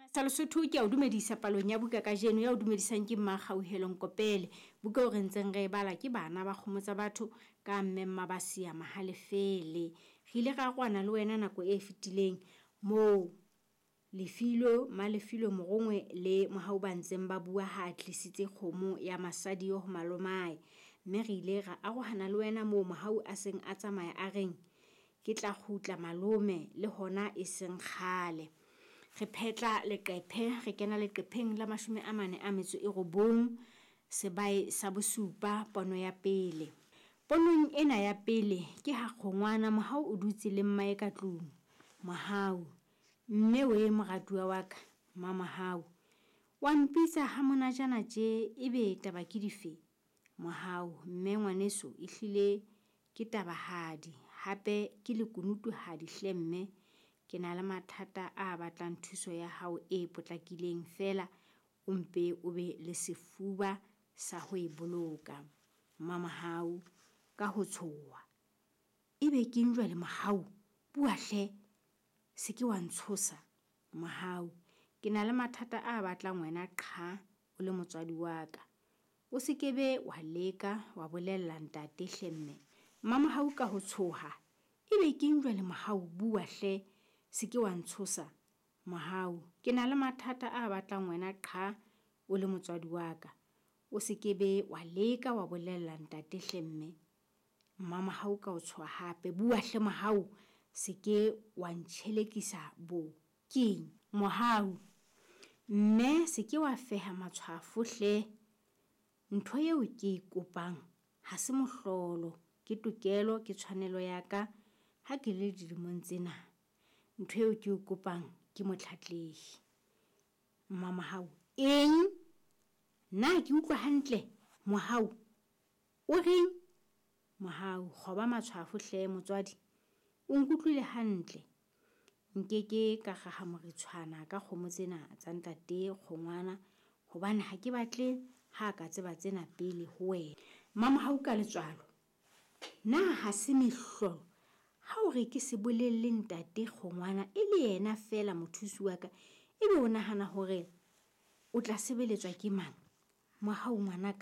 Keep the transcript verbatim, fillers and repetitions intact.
Sa Lesotho ke a o dumedisa palong ya buka kajeno ya o dumedisang ke Mmakgauhelo Nkopele. Buka eo re ntseng re e bala ke Bana ba Kgomo Tsa Batho ka Mme Mmabasia Mahalefele. Re ile ra arohana le wena nako e fetileng moo Lefilo, Mmalefilo, Morongwe le Mohau ba ntseng ba bua ha a tlisitse kgomo ya masadi ho malomae. Mme re ile ra arohana le wena moo Mohau a seng a tsamaya a reng ke tla kgutla malome le hona e seng kgale. Re phetla leqephe re kena leqepheng la mashome a mane a metso e robong sebae sa bosupa pono ya pele. Ponong ena ya pele ke ha kgongwana Mohau o dutse le mmae ka tlung. Mohau, mme we moratuwa wa ka, Mmamohau. Wa mpitsa ha monajana tje ebe taba ke dife? Mohau, mme ngwaneso ehlile ke tabahadi hape ke lekunutuhadi hle mme. Ke na le mathata a batlang thuso ya hao e potlakileng feela o mpe o be le sefuba sa ho e boloka. Mmamohau ka ho tshoha. Ebe keng jwale Mohau? Bua hle, se ke wa ntshosa. Mohau, ke na le mathata a batlang wena qha o le motswadi wa ka. O se ke be wa leka wa bolella ntate hle mme. Mmamohau ka ho tshoha. Ebe keng jwale Mohau? Bua hle, se ke wa ntshosa. Mohau, ke na le mathata a batlang wena qha o le motswadi wa ka. O se ke be wa leka wa bolella ntate hle mme. Mmamohau ka ho tshoha hape. Bua hle Mohau, se ke wa ntjhelekisa bo. Keng? Mohau, mme se ke wa feha matshwafo hle. Ntho eo ke e kopang ha se mohlolo, ke tokelo, ke tshwanelo ya ka ha ke le dilemong tsena. Ntho eo ke o kopang ke motlatlehi. Mmamohau, eng? Na ke utlwa hantle? Mohau, o reng? Mohau, kgoba matshwafo hle motswadi. O nkutlwile hantle. Nkeke ka raha moritshwana ka kgomo tsena tsa ntate kgongwana hobane ha ke batle ha ka tseba tsena pele ho wena. Mmamohau ka letswalo. Na ha se mehlolo ha o re ke se bolelle ntate kgongwana e le yena feela mothusi wa ka, ebe o nahana hore o tla sebeletswa ke mang? Mohau ngwanaka.